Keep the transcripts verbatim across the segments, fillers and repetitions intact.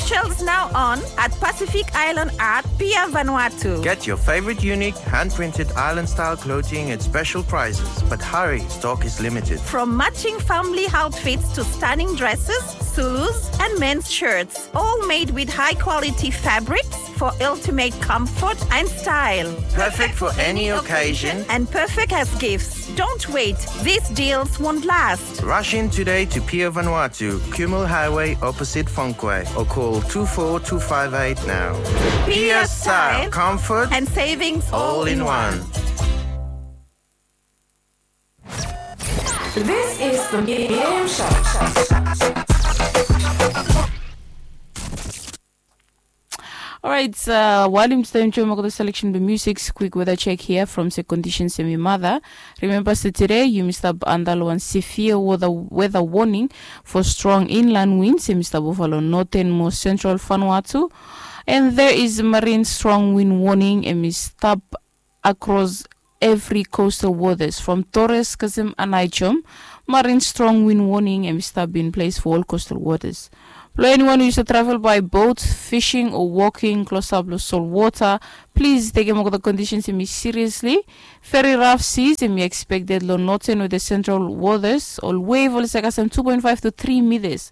Shells now on at Pacific Island Art, Pier Vanuatu. Get your favorite unique hand-printed island-style clothing at special prices, but hurry, stock is limited. From matching family outfits to stunning dresses, Zulus, and men's shirts, all made with high-quality fabrics for ultimate comfort and style. Perfect for any occasion and perfect as gifts. Don't wait, these deals won't last. Rush in today to Pier Vanuatu, Kumul Highway, opposite Fongkway, or call two four two five eight now. Pier style, comfort, and savings all in one. This is the Miriam Show. Alright, uh, wael yumi stap enjoem olgeta selection blong music, quick weather check here from se conditions hemi mother. Remember se today yumi stap anda long wan severe weather, weather warning for strong inland winds hemi stap ova long northernmost central Vanuatu. And there is marine strong wind warning hemi stap across every coastal waters from Torres kasem Aneityum. Marine strong wind warning hemi stap in place for all coastal waters. Blong anyone we yu save travel by boat, fishing or walking klosap long salt water, please tekem olgeta conditions hemi seriously. Very rough seas hemi expected long northern with the central waters, ol wave oli save kasem two point five to three meters.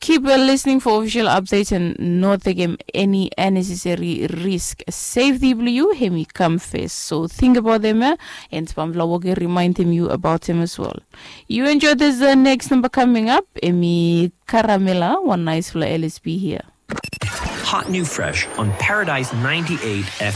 Keep well listening for official updates and no tekem any unnecessary risk. Safety blong yu hemi kam first. So think about them, eh? And bamfala wok i remindem yu about them as well. You enjoy this uh, next number coming up. Hemi Caramella, one nice fla L S B here. Hot new fresh on Paradise ninety-eight F M.